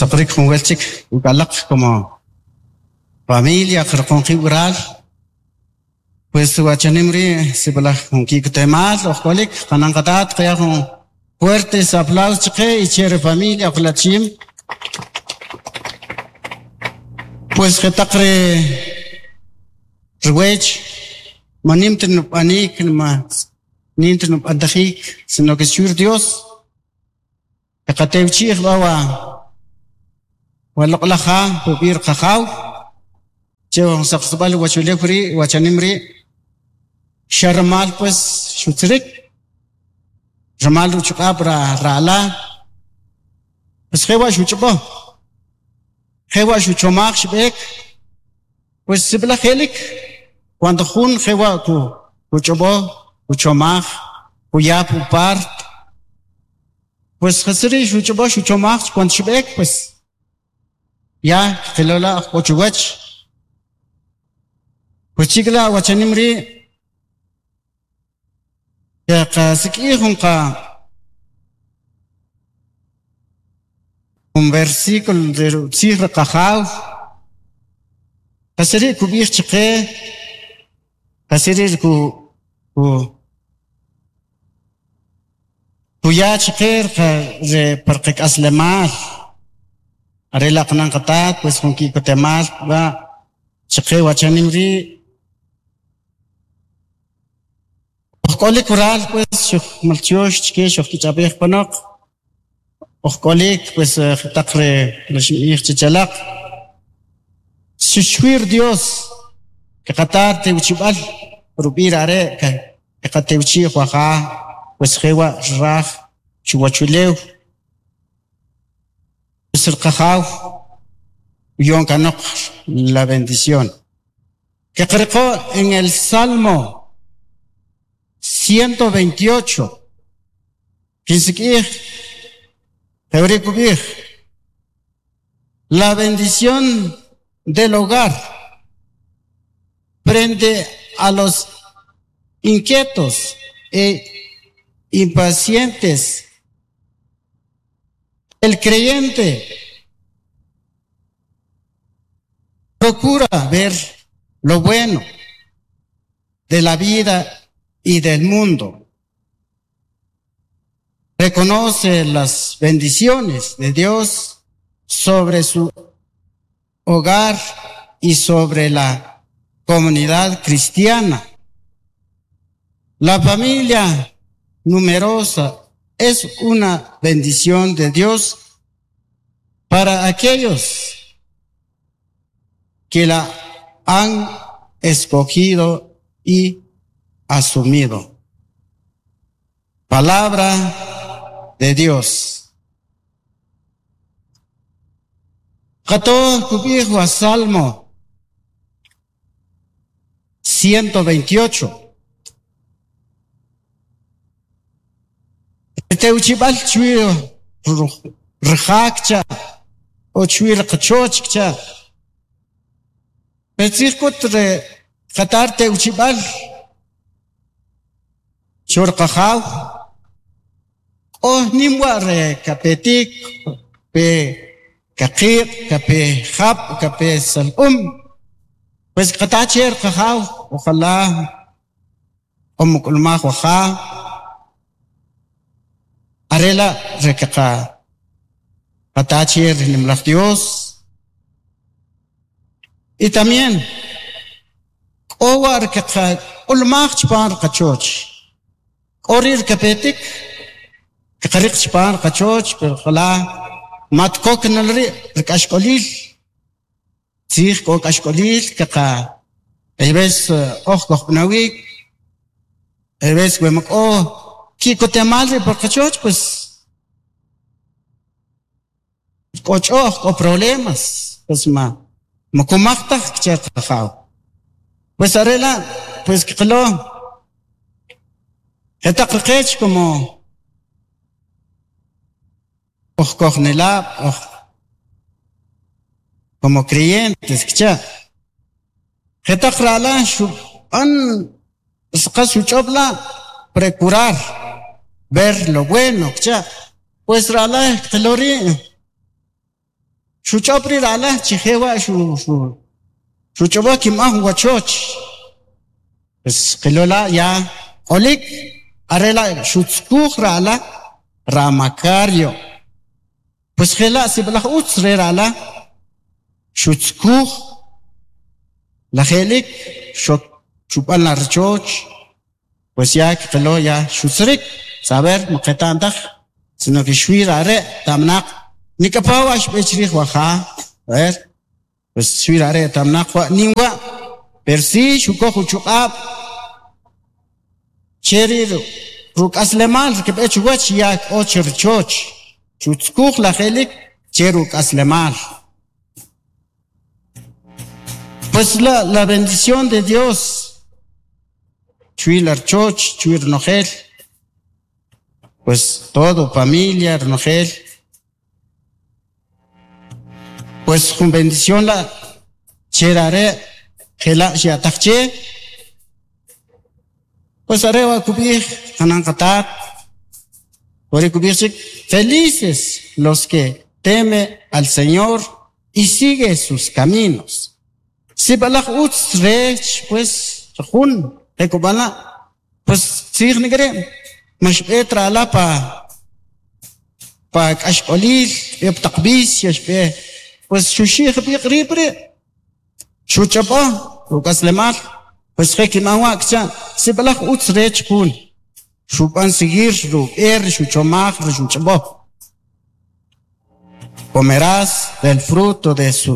Saqrik jun wel chik uk'alaq como familia qirqon qib' waral pues wachanim ri' sib'alaj jun ki'kotemal oj k'olik qanan qatat qaya' jun fuertes aplausos chaqe y che ri familia ojlachim pues jetaq ri riwech man nim ta nub'anik ma nim ta nub'antajik sino que xu' ri Dios Kaqatewchi'j b'a wa wa loq'laj ja ub'i' ri qajaw che jun saqsib'al uwachulew ri' wachanim ri' xa rumal pues xutzirik rumal uchuq'ab' ra ra'la pues jewa' xuch'ob'o jewa' xuchomaj xb'ek pues sib'alaj je'lik cuando jun jewa' kuch'ob'o kuchomaj kuya pu part Pues jas ri' xuch'ob'o xuchomaj cuando xb'ek pues ya kqilo la' k'o chuwach pues chik la' wachanim ri' qasik'ij jun qa jun versículo re utzij ri Qajaw jas ri' kub'ij chaqe jas ri' ku ku Kuya chqe re par qak'aslemal are la' qanan qatat pues jun ki'kotemal b'a' chaqe wachanim ri' uj k'olik waral pues xujmaltyox chike xujkich'ab'ej panoq uj k'olik pues jetaq ri xinb'ij che alaq xuxwir Dios kaqata tewchib'al rub'i' ri are' kaqatewchi'j waja pues jewa' xraj chuwachulew pues ri qajaw uyo'n kanoq la bendición kaqariqo en el Salmo 128 Kinsik'ij jewri' kub'ij, La bendición del hogar prende a los inquietos e impacientes. El creyente procura ver lo bueno de la vida y del mundo. Reconoce las bendiciones de Dios sobre su hogar y sobre la comunidad cristiana. La familia numerosa es una bendición de Dios para aquellos que la han escogido y asumido. Palabra de Dios. Qato kub'ij wa Salmo 128. Tewchib'al chwi ri ja kcha o chwi ri qachoch kcha. Qetzij k'ut ri qatar tewchib'al cho ri qajaw k'o nim wa' ri kapetik pe kaqiq' kape jab' kape salq'um pues qata che ri qajaw ojalá o muk'ulmaj wa ja are la' ri kaqa qata che ri nimalaj Dios y también k'o wa' ri kaqak'ulmaj chipam ri qachoch k'o ri' ri kapetik kaqariq chipam ri qachoch pero ojalá mat kok nel ri' ri k'axk'olil tzij k'o k'axk'olil kaqa hay veces oj kojb'anawik hay veces we ma k'o ki'kotemal ri' por qachoch pues k'o ch'o'j k'o problemas pues ma ma kumaj taj kcha qajaw pues are la' pues kqilo jetaq qech como oj kojnelab' oj como creyentes kcha jetaq ra'la xub'an qas xuch'ob' la' procurar ver lo bueno kcha pues ra'la kqilo ri' Xuch'ob' ri ra'la chi jewa' xuch'ob'o kinb'an jun wachoch. Pues qilo la' ya k'olik are la' xutzukuj ra'la ra Macario. Pues jela' sib'alaj utz re ra'la xutzukuj la je'lik xok xub'an la rachoch. Pues ya kqilo ya xutzirik, saber ma qeta'm taj, sino que xwi ra are' tamnaq nik'apa wa' xb'e chrij wa ja, a ver, pues xwi ra are' tamnaq wa' nim wa', pero si xukoj uchuq'ab' che ri ruk'aslemal kb'e chuwach ya k'o chi rachoch, xutzukuj la je'lik che ruk'aslemal. Pues la, la bendición de Dios, chui la rachoch, chui ronojel, pues todo, familia, ronojel, pues jun bendición la che are' jela' xya'taj che, pues are' wa' kub'ij qanan qatat, wari' kub'ij chik felices los que teme al Señor y sigue sus caminos. Sib'alaj utz rech pues jun je kub'an la' pues tzij nik'ri' ma xb'e tra'la pa pa k'axk'olil, xb'e pa taq vicio, xb'e pues xuxi'j b'iq rib' ri' xuch'ob'o ruk'aslemal pues je kinb'an wa' kcha' sib'alaj utz rech jun xub'an seguir rub'e ri xuchomaj ri xuch'ob'o. Comerás del fruto de su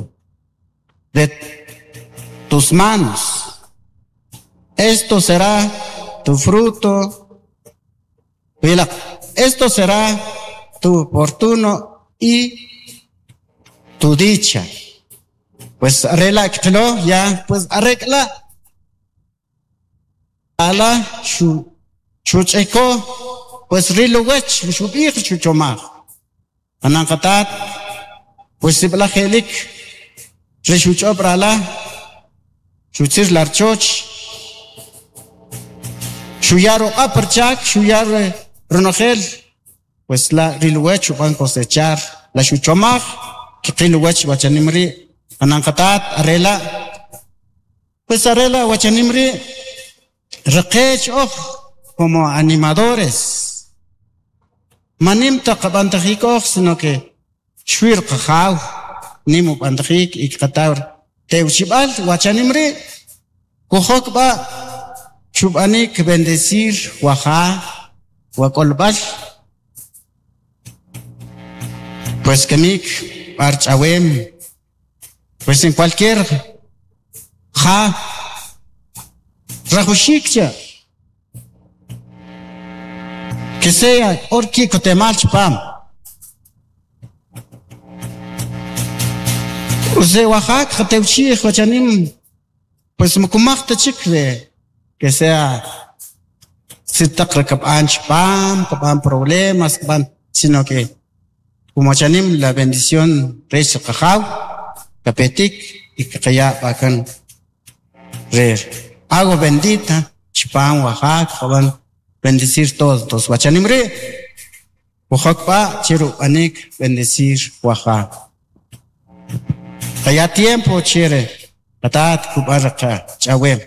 de tus manos. Esto será tu fruto. Esto será tu fortuno y tu dicha. Pues arregla ya, pues arregla. Ala xu xuch'eko pues ril uwach xub'ij xuchomaj. Qanan qatat pues sib'alaj je'lik ri xuch'ob' ra'la xutzir la rachoch xuya ruq'ab' rchak xuya ronojel pues la ril uwach xub'an cosechar la xuchomaj kqil uwach wachanim ri' qanan qatat arela pues arela wachanim ri' riqech oj como animadores manim taq qab'antajik oj sino que xwi riqajaw nim ub'antajik y kqataw tewchib'al wachanim ri' kujok b'a' chub'anik bendecir waja wa k'olb'al pues kamik b'ar ch'awem pues en cualquier ja rajuxik cha que sea or ki'kotemal chipam use waja qatewchij wachanim pues makumaj ta chik de que sea sitaq kab'an chipam kab'an problemas kab'an sino que como wachanim la bendición rech qajaw kapetik y kqaya' b'akan re agua bendita chipam waja qab'an bendecir todos wachanim ri' kujok b'a' che rub'anik bendecir waja qaya tiempo chere qatat kub'an ch'awem.